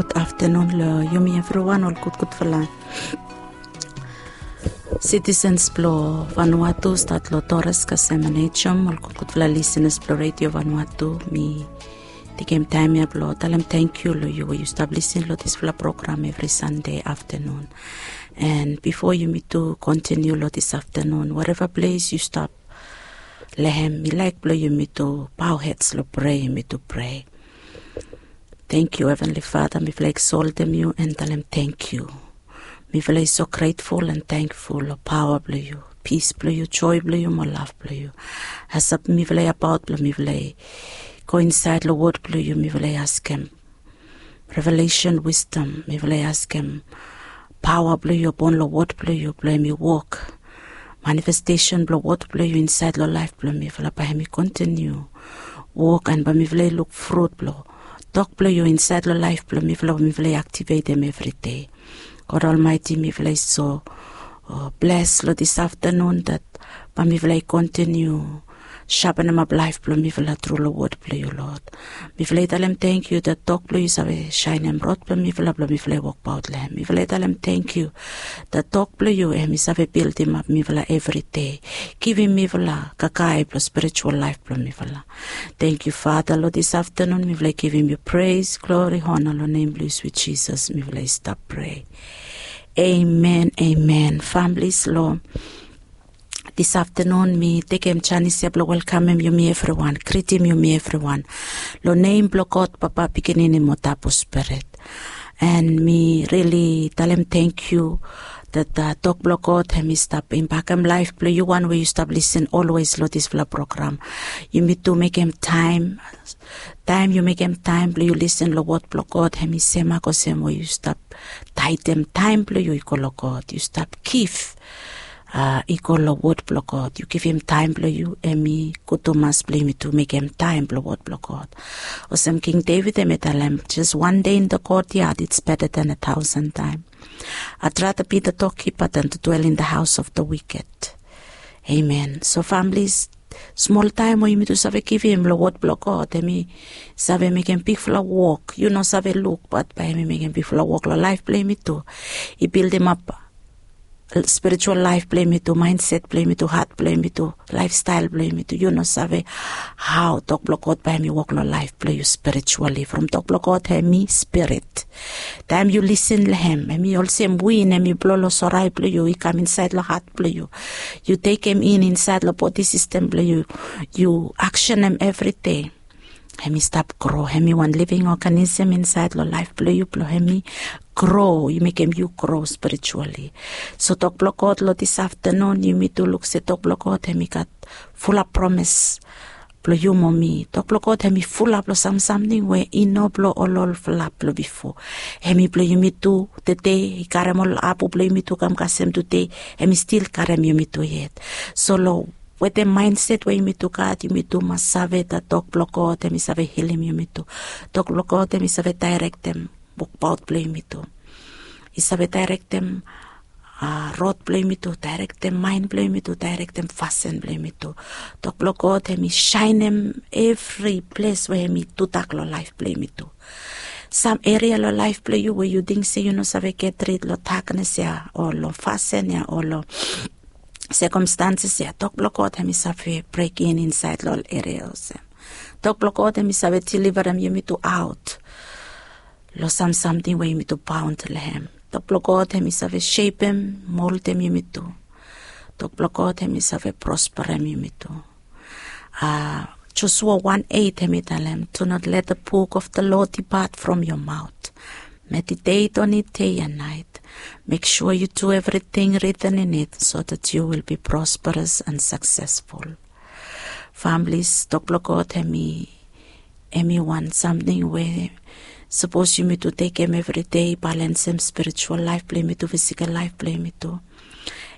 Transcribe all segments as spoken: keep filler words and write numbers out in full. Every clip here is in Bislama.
Gud aftenun long yumi evriwan, ol gudgudfala sitisens blong Vanuatu, stat long Torres kasem Aneityum, ol gudgudfala lisenas blong Redio Vanuatu. Mi tekem taem ya blong talem tangkiu long yu we yu stap lisin long disfala program evri Sande aftenun. And bifo yumitu kontiniu long dis aftenun, wareva ples yu stap long hem, mi laek blong yumitu bao hed long prea, yumitu prea. Tangkiu, Heavenly Father, mifala i eksoltem yu and talem tangkiu. Mifala i so grateful and thankful long paoa blong yu, pis blong yu, joe blong yu mo lav blong yu. As mifala i abaot blong mifala i go insaed long wod blong yu, mifala i askem revelation, wisdom, mifala i askem paoa blong yu apon long wod blong yu blong hem i wok. Manifestesen blong wod blong yu insaed long laef blong mifala, bae hem i kontiniu wok, and bae mifala i luk frut blong tok blong yu insaed long laef blong mifala, mifala i aktivetem evri dei. God Almighty, mifala i so bles long dis aftenun dat bae mifala i kontiniu shapenimap laef blong mifala tru long wod blong yu, Lord. Mifala i talem tangkiu dat tok blong yu save saenem rod blong mifala, blong mifala i wokbaot long hem. Mifala i talem tangkiu dat tok blong yu hem i save bildimap mifala evri dei, givim mifala kakae blong spiritual laef blong mifala. Tangkiu, Father, long dis aftenun mifala i givim yu pres, glori, hona long nem blong yu, swit Jisas, mifala i stap prea. Amen, amen. Famili, long dis aftenun mi tekem janis ya blong welkamem yumi evriwan, gritim yumi evriwan long nem blong God Papa, Pikinini mo Tabu Spirit. And mi rili talem tangkiu dat tok blong God hem i stap impakem laef blong yu wan we yu stap lisin olwes long disfala program. Yumitu mekem taem, taem yu mekem taem blong yu lisin long wod blong God, hem i semak olsem we yu stap taedem taem blong yu i go long God, yu stap gif i go long wod blong God, yu givim taem blong yu, hem i gud tumas blong yumitu mekem taem blong wod blong God. Olsem King David hem i talem, just one day in the courtyard, it's better than a thousand time. I'd rather be the doorkeeper than to dwell in the house of the wicked. Amen. So famili, smol taem we yumitu save givim long wod blong God, hem i save mekem bigfala wok yu no save luk, bat bae hem i mekem bigfala wok long laef blong yumitu. I bildimap spiritual laef blong yumitu, mindset blong yumitu, hat blong yumitu, laefstael blong yumitu. Yu no save hao tok blong God bae hem i wok long laef blong yu spiritually. From tok blong God hem i spirit. Taem yu lisin long hem, hem i olsem win, hem i blo long sorae blong yu, i kam insaed long hat blong yu. Yu tekem in insaed long bodi sistem blong yu. Yu aksenem evri dei. Hem i stap gro, hem i wan living organism insaed long laef blong yu, blong hem i gro, i mekem yu gro spiritually. So tok blong God long dis aftenun, yumitu luk se tok blong God hem i gat fulap promes blong yu mo mi. Tok blong God hem i fulap long sam samting we i no blong ol olfala blong bifo. Hem i blong yumitu tede, i karem ol abu blong yumitu kam kasem tede, hem i stil karem yumitu yet. So long wetem mindset we yumitu gat, yumitu mas save dat tok blong God hem i save hilim yumitu. Tok blong God hem i save daerektem wokbaot blong yumitu. I save daerektem rod blong yumitu, daerektem maen blong yumitu, daerektem fasin blong yumitu. Tok blong God hem i saenem evri ples we hem i tudak long laef blong yumitu. Sam eria long laef blong yu we yu ting se yu no save get rid long daknes ya o long fasin ya o long sekomstanses ya, tok blong God hem i save brekin insaed long ol eria olsem. Tok blong God hem i save deliverem yumitu aot long sam samting we yumitu baon long hem. Tok blong God hem i save sepem, moldem yumitu. Tok blong God hem i save prosperem yumitu. Joshua one eight hem i talem, do not let the book of the law depart from your mouth. Meditate on it day and night. Make sure you do everything written in it so that you will be prosperous and successful. Families, tok blong God hem i, hem i wan samting we sapos yumitu tekem evri dei, balensem spiritual laef blong yumitu, fisikal laef blong yumitu.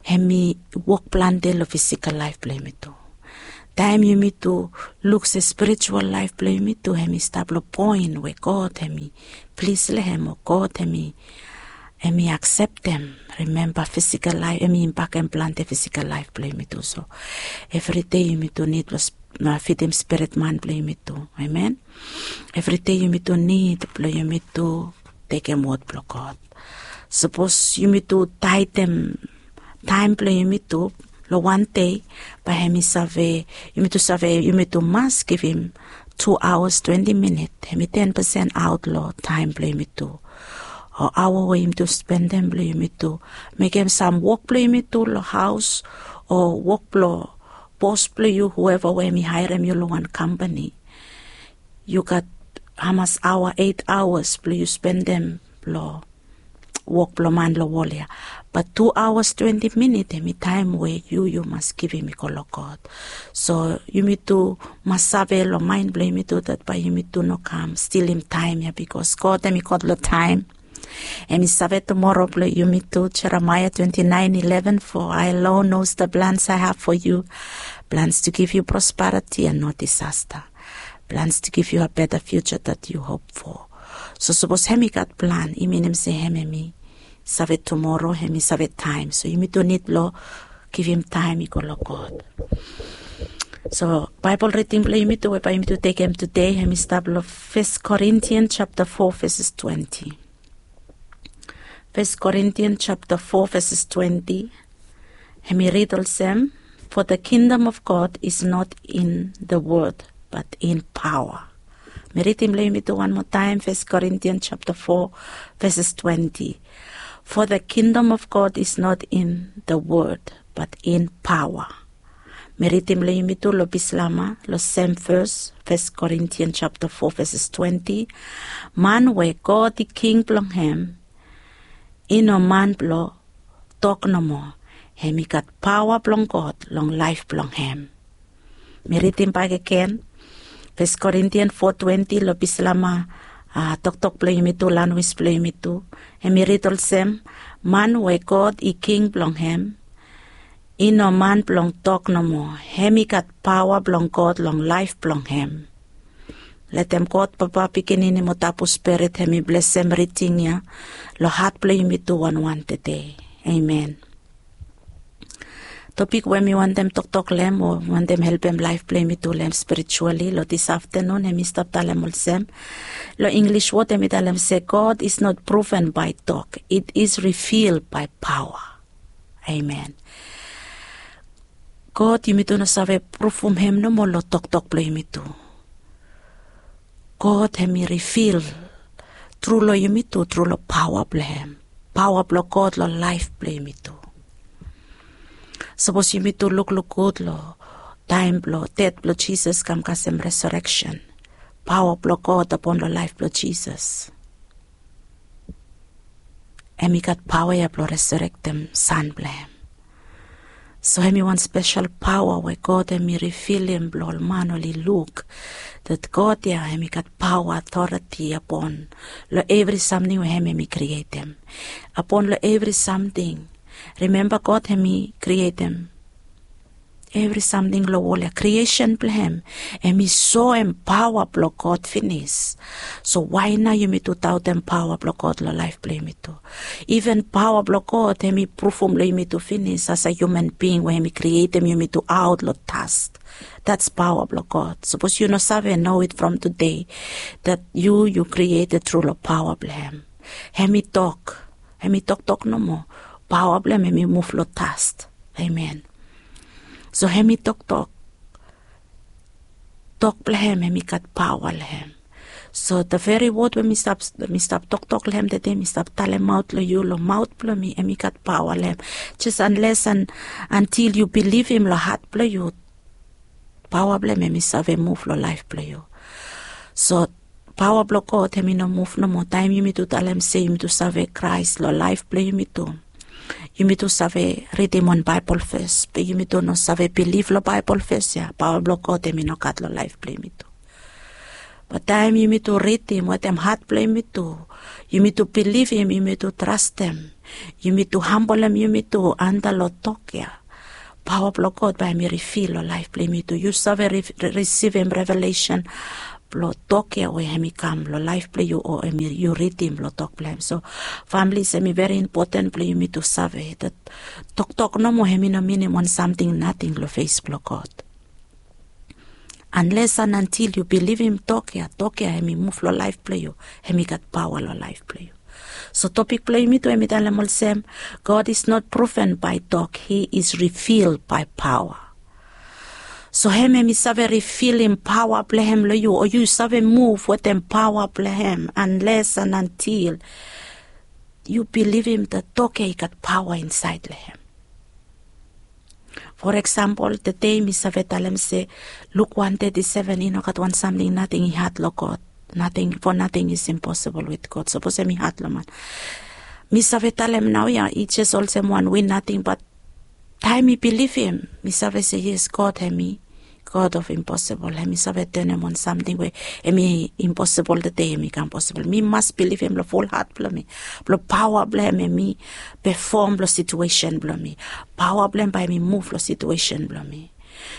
Hem i wok plante long fisikal laef blong yumitu. Taem yumitu luk se spiritual laef blong yumitu hem i stap long poen we God hem i plis long hem o God hem i, hem i akseptem. Rimemba, fisikal laef hem i impakem plante fisikal laef blong yumitu. So evri dei yumitu nid blong fidim spirit man blong yumitu. Amen. Evri dei yumitu nid blong yumitu tekem wod blong God. Sapos yumi tu taedem taem blong yumi tu long wan dei, bae hem i save, yumi tu save, yumi tu mas givim tu aoas twenti minit, hem i ten pesen aot long taem blong yumi tu, o aoa we yumi tu spendem blong yumi tu mekem sam wok blong yumi tu long haos, o wok blong bos blong yu, hueva we hem i haerem yu long wan kampani. Yu gat hamas aoa, eit aoas blong yu spendem long wok blong man long wol ya. Bat tu aoas twenti minit hem i taem we yu yu mas givim i go long God. So yumi tu mas save long maen blong yumi tu dat bae yumi tu no kam stilim taem ya, bikos God hem i God long taem. Hem i save tumoro blong yumi tu. Jeremaia twenti naen ileven, "For I alone knows the plans I have for you, plans to give you prosperity and not disaster, plans to give you a better future that you hope for." So sapos hem i gat plan, i minim se hem hem i save tumoro, hem i save taem. So yumi tu nid blong givim taem i go long God. So Baebol riding blong yumi tu we bae yumi tu tekem tude, hem i stap long Fes Korintian japta fo veses twenti. Fes Korintian japta fo veses twenti. Hem i rid olsem, "For the kingdom of God is not in the word, but in power." Mi ridim long yumi tu wan moa taem, Fes Korintian japta fo veses twenti. "For the kingdom of God is not in the word, but in power." Mi ridim long yumi tu long Bislama, long sem ves, Fes Korintian japta fo veses twenti. "Man we God i king blong hem, i no man blong tok nomo, hem i gat paoa blong God long laef blong hem." Mi ridim bakegen, Fes Korintian fo twenti long Bislama, a, toktok blong yumi tu, lanwis blong yumi tu. Hem i rid olsem, "Man we God i king blong hem, i no man blong tok nomo, hem i gat paoa blong God long laef blong hem." Letem God Papa, Pikinini mo Tabu Spirit hem i blesem riding ya long hat blong yumi tu wanwan tude. Amen. Topik we mi wantem toktok long hem o wantem helpem laef blong yumi tu long hem spiritually long this afternoon, hem i stap talem olsem, long English wod hem i talem se, "God is not proven by talk, it is revealed by power." Amen. God yumi tu no save pruvum hem nomo long toktok blong yumi tu. God hem i rivil tru long yumi tu tru long paoa blong hem, paoa blong God long laef blong yumi tu. Sapos yumi tu lukluk gud long taem blong ded blong Jisas kam kasem resareksen, paoa blong God apon long laef blong Jisas. Hem i gat paoa ya blong resarektem san blong hem. So hem i wan spesel paoa we God hem i rivilim blong ol man oli luk dat God ya hem i gat paoa, otoreti apon long evri samting we hem hem i krietem, apon long evri samting. Rimemba God hem i krietem evri samting long wol ya, kriesen blong hem, hem i soem paoa blong God finis. So wae nao yumi tu daotem paoa blong God long laef blong yumi tu? Iven paoa blong God hem i pruvum long yumi tu finis as a hiuman bing we hem i krietem yumi tu aot long das. That's paoa blong God. Sapos yu no save, know it from today, dat yu yu krieted tru long paoa blong hem. Hem i tok, hem i toktok nomo, paoa blong hem hem i muv long das. Amen. So hem i toktok, tok blong hem hem i gat paoa long hem. So the very word we mi stap, mi stap toktok long hem tude, mi stap talemaot long yu long maot blong mi, hem i gat paoa long hem. Jes anles an antil yu bilivim long hat blong yu, paoa blong hem hem i save muv long laef blong yu. So paoa blong God hem i no muv nomo taem yumi tu talem se yumi tu save Kraes long laef blong yumi tu. Yumi tu save ridim wan Baebol ves, be yumi tu no save bilif long Baebol ves ya, paoa blong God hem i no gat long laef blong yumi tu. Bat taem yumi tu ridim wetem hat blong yumi tu, yumi tu bilivim, yumi tu trastem, yumi tu hambolem yumi tu antap long tok ya, paoa blong God bae hem i rivil long laef blong yumi tu. Yu save ri-, ri-, risivim revelesen blong tok ya we hem i kam long laef blong yu o hem i, yu ridim long tok blong hem. So families, hem i veri impoten blong yumi tu save dat toktok nomo hem i no minim wan samting nating long fes blong God. Anles an antil yu bilivim tok ya, tok ya hem i muv long laef blong yu, hem i gat paoa long laef blong yu. So topik blong yumi tu em i talem olsem, God is not proven by tok, he is revealed by power. So hem em i save rivilim paoa blong hem long yu, o yu save muv wetem paoa blong hem, anles an antil yu bilivim dat tok ya i gat paoa insaed long hem. For eksempel, tede mi save talem se Luk wan teti seven, i no gat wan samting nating i had long God. Nating, for nothing is impossible with God. Sapos em i had long man, mi save talem naoia i jes olsem wan win nating, bat taem mi bilivim, mi save se yes, God hem i God of impossible. Hem i save tenem wan samting we em i impossible tede em i kam possible. Mi mas bilivim long ful hat blong mi, blong paoa blong hem em i pefom long situesen blong mi, paoa blong hem bae em i muv long situesen blong mi.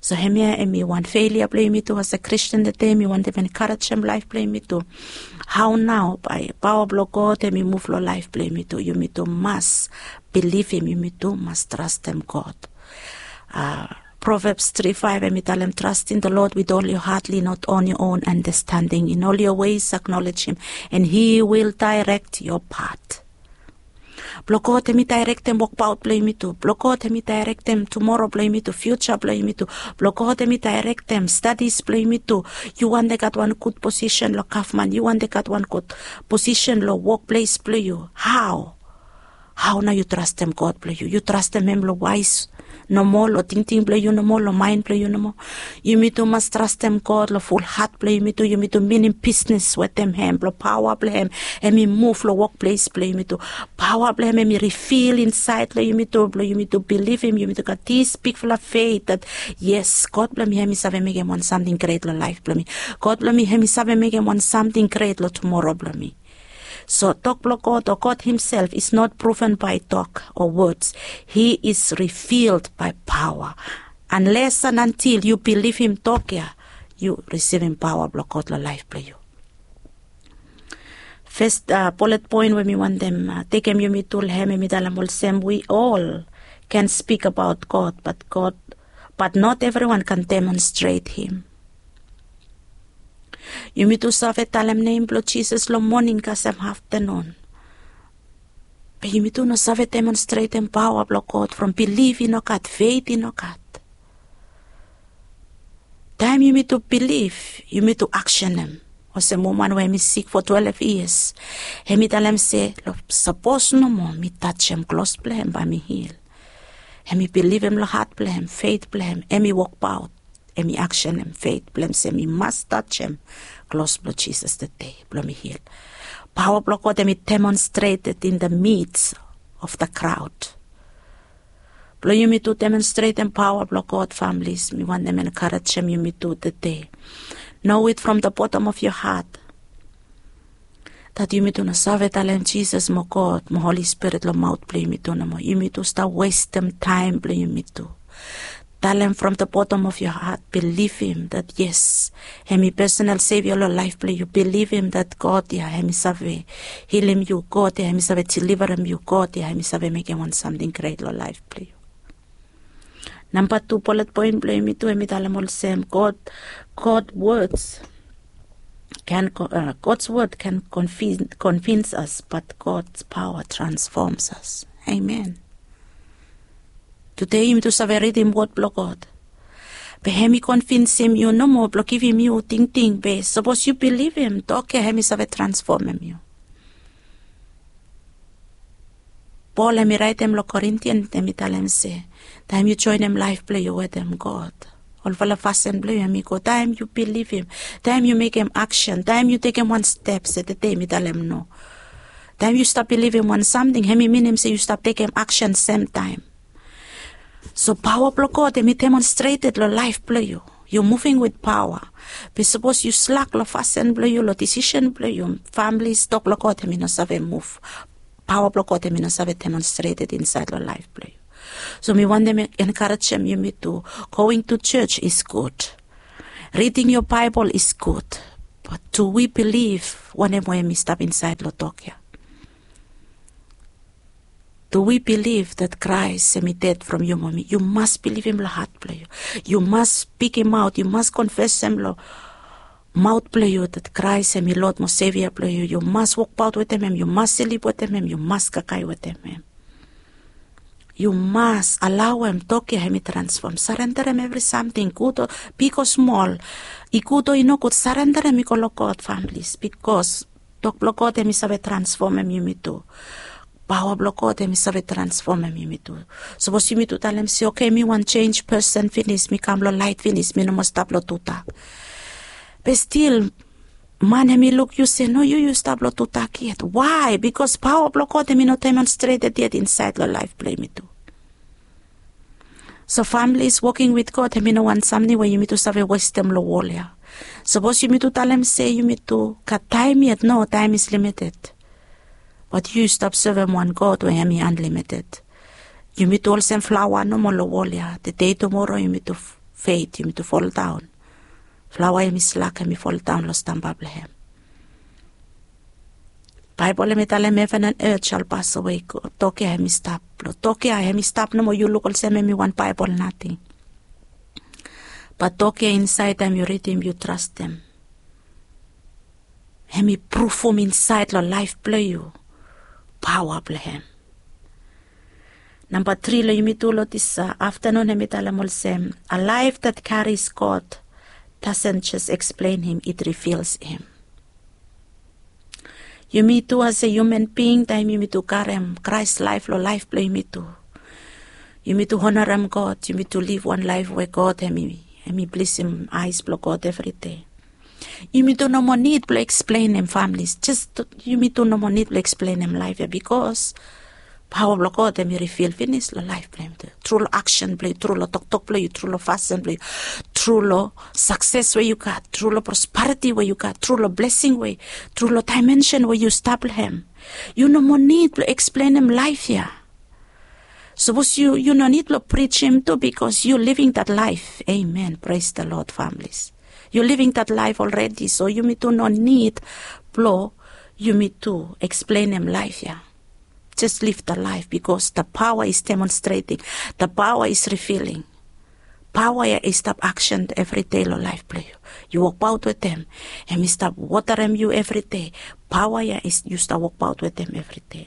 So hemia em i wan felia blong yumi tu as a Kristen tede, mi wantem enkarejem laef blong yumi tu. Hao nao bae paoa blong God em i muv long laef blong yumi tu? Yumi tu mas bilivim, yumi tu mas trastem God. Proverbs tri faef em i talem, trust in the Lord with all your heart, lean not on your own understanding, in all your ways acknowledge him, and he will direct your path. Blong God hem i daerektem wokbaot blong yumi tu. Blong God hem i daerektem tumoro blong yumi tu, fiuja blong yumi tu. Blong God hem i daerektem stadis blong yumi tu. Yu wantem gat wan gud posisen long gavman, yu wantem gat wan gud posisen long wokples blong yu. Hao? Hao nao yu trastem God blong yu? Yu trastem hem long waes nomo, long tingting blong yu nomo, long maen blong yu nomo? Yumi tu mas trastem God long ful hat blong yumi tu. Yumi tu minim bisnes wetem hem, blong paoa blong hem em i muv long wokples blong yumi tu. Paoa blong hem em i rivil insaed long yumi tu, blong yumi tu bilivim, yumi tu gat dis bigfala fet dat yes, God blong mi hem i save mekem wan samting gret long laef blong mi. God blong mi hem i save mekem wan samting gret long tumoro blong mi. So tok blong God, o God himself, is not proven by tok o wods. He is revealed by paoa. Anles an antil yu bilivim tok ya, yu risivim paoa blong God long laef blong yu. Fes bulet poen we mi wantem tekem yumi tu long hem, em i talem olsem, we all can speak about God, but God, but not everyone can demonstrate him. Yumi tu save talem nem blong Jisas long moning kasem aftanun, be yumi tu no save demonstretem paoa blong God from bilif i no gat, fet i no gat. Taem yumi tu bilif, yumi tu aksenem. Olsem woman we hem i sik fo twelef yias, hem i talem se, sapos nomo mi tajem klos blong hem bae mi hil. Hem i bilivim long hat blong hem, fet blong hem, hem i wokbaot, hem i aksenem fet blong hem se mi mas tajem klos blong Jisas tede blong mi hil. Paoa blong God hem i demonstreted in the midst of the crowd. Blong yumi tu demonstretem paoa blong God, families, mi wantem enkarejem yumi tu tede. Know it from the bottom of your heart dat yumi tu no save talem Jisas mo God mo Holi Spirit long maot blong yumi tu nomo. Yumi tu stap westem taem blong yumi tu. Talem from the bottom of your heart, bilivim dat yes, hem i personal Savior long laef blong yu. Bilivim dat God ya hem i save hilim yu, God ya hem i save deliverem yu, God ya hem i save mekem wan samting gret long laef blong yu. Namba tu bulet poen blong yumi tu, hem i talem olsem, God, God words can, God's word can convince us, but God's power transforms us. Amen. Tude yumi tu save ridim wod blong God, be hem i konvinsim yu nomo blong givim yu tingting, be sapos yu bilivim tok ya, hem i save transfomem yu. Pol hem i raetem long Korintian, hem i talem se, taem yu joenem laef blong yu wetem God, olfala fasin blong yu hem i go taem yu bilivim, taem yu mekem aksen, taem yu tekem wan step se tede mi talem no. Taem yu stap bilivim wan samting, hem i minim se yu stap tekem aksen semtaem. So paoa blong God hem i demonstreted long laef blong yu. Yu muving wit paoa. Be sapos yu slak long fasin blong yu, long disisen blong yu, famili, tok blong God hem i no save muv. Paoa blong God hem i no save demonstreted insaed long laef blong yu. So mi wantem enkarejem yumi tu, going to church is good. Reading your Bible is good. But do we believe wanem we hem i stap insaed long tok ya? Do we believe that Christ hem i ded from yu mo mi? Yu mas bilivim long hat blong yu. Yu mas spikimaot, yu mas konfesem long maot blong yu dat Kraes hem i Lord mo Sevia blong yu, yu mas wokbaot wetem hem, yu mas slip wetem hem, yu mas kakae wetem hem. Yu mas alaoem tok ya hem i transfom, sarenderem evri samting, gud o big o smol, i gud o i nogud, sarenderem i go long God, familis, bikos tok blong God hem i save transfomem yumi tu. Paoa blong God hem i save transfomem yumi tu. Sapos yumi tu talem se, oke, mi wan jenis pesen finis, mi kam long laet finis, mi no moa stap long tudak. Be stil man hem i luk yu se, no, yu yu stap long tudak yet. Wae? Bikos paoa blong God hem i no demonstreted yet insaed long laef blong yumi tu. So familis, woking wit God hem i no wan samting we yumi tu save westem long wol ya. Sapos yumi tu talem se yumi tu gat taem yet, no, taem is limited. Bat yu stap sevem wan God we hem i anlimited. Yumi tu olsem flaoa nomo long wol ya. Tede, tumoro yumi tu fed, yumi tu foldaon. Flaoa hem i slak, hem i foldaon long stamba blong hem. Baebol hem i talem, heven and earth shall pass away, tok ya hem i stap. Long tok ya hem i stap nomo, yu luk olsem hem i wan Baebol nating. Bat tok ya insaed, taem yu ridim, yu trastem, hem i prufum insaed long laef blong yu paoa blong hem. Namba tri long yumi tu long dis aftanun hem i talem olsem, a life that carries God doesn't just explain him, it reveals him. Yumi tu as a human being, taem yumi tu karem Kraes laef long laef blong yumi tu, yumi tu honarem God, yumi tu liv wan laef we God hem i, hem i blisim aes blong God evri dei. Yumi tu no moa nid blong eksplenem, familis. Jes yumi tu no moa nid blong eksplenem laef ya, bikos paoa blong God hem i rivil finis long laef blong yumi tu. Tru long aksen blong yu, tru long toktok blong yu, tru long fasin blong yu, tru long sakses we yu gat, tru long prosperiti we yu gat, tru long blesing we, tru long daemensen we yu stap long hem. Yu no moa nid blong eksplenem laef ya. Sapos yu, yu no nid blong prijim tu, bikos yu living that life. Amen. Praise the Lord, families. Yu living that life already, so yumi tu no nid blong yumi tu eksplenem laef ya. Just live the life, bikos the power is demonstrating, the power is revealing. Paoa ya i stap aksen evri dei long laef blong yu. Yu wokbaot wetem, hem i stap wotarem yu evri dei. Paoa ya yu stap wokbaot wetem evri dei.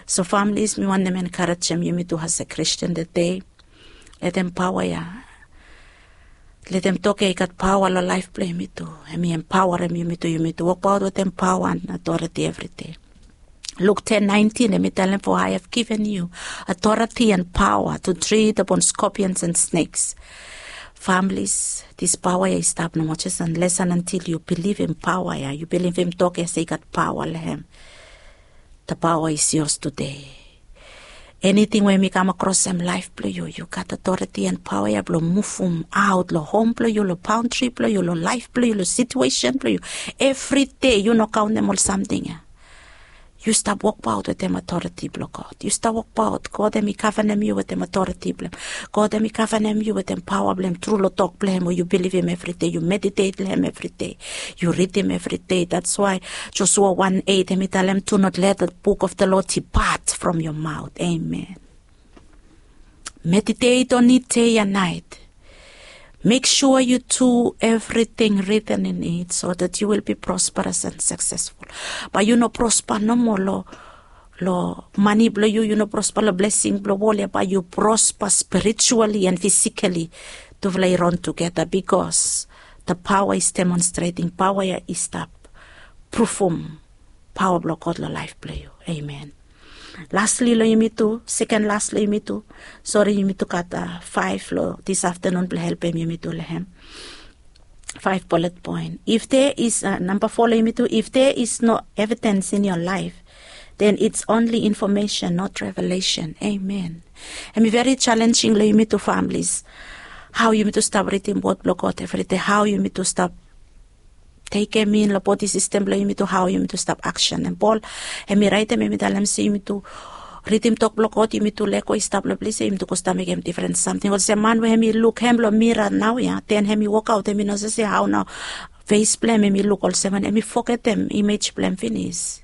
So familis, mi wantem enkarejem yumi tu as a Christian tede. Letem paoa ya, letem tok ya i gat paoa long laef blong yumi tu. Hem i empaoarem yumi tu, yumi tu wokbaot wetem paoa and authority evri dei. Luk ten naentin hem i talem, for I have given you authority and power to tread upon scorpions and snakes. Familis, dis paoa ya i stap nomo jes unless and until yu bilivim paoa ya, yu bilivim tok ya se i gat paoa long hem. The power is yours today. Eniting we hem i kam akrosem laef blong yu, yu gat authority and paoa ya blong muvumaot long hom blong yu, long baontri blong yu, long laef blong yu, long situesen blong yu. Evri dei yu no kaontem ol samting ya. Yu stap wokbaot wetem authority blong God. Yu stap wokbaot, God hem i gavenem yu wetem authority blong hem. God hem i gavenem yu wetem paoa blong hem tru long tok blong hem we yu bilivim evri dei, yu meditate long hem evri dei, yu ridim evri dei. That's why Joshua one eight hem i talem, do not let the book of the law depart from your mouth. Amen. Meditate on it day and night. Make sure you do everything written in it so that you will be prosperous and successful. Bae yu no prosper nomo long, long mane blong yu, yu no prosper long blesing blong wol ya, bae yu prosper spiritually and physically. Tufala i ron tugeta, because the power is demonstrating, paoa ya i stap prufum paoa blong God long laef blong yu. Amen. Lastly long yumi tu, seken las long yumi tu. Sori, yumi tu gat faef long dis aftanun blong helpem yumi tu long hem. Faef bullet point. If there is, namba fo long yumi tu, if there is no evidence in your life, then it's only information, not revelation. Amen. Hem i veri challenging long yumi tu, families. Hao yumi tu stap ridim wod blong God evri dei, hao yumi tu stap tekem in long bodi sistem blong yumi tu, hao yumi tu stap aksenem. Pol hem i raetem, hem i talem se yumi tu ridim tok blong God, yumi tu lego i stap long ples ya, yumi tu go stap mekem difren samting. Olsem man we hem i luk hem long mira naoia, den hem i wokaot, hem i no save se hao nao fes blong hem, hem i luk olsem wanem, hem i fogetem imej blong hem finis.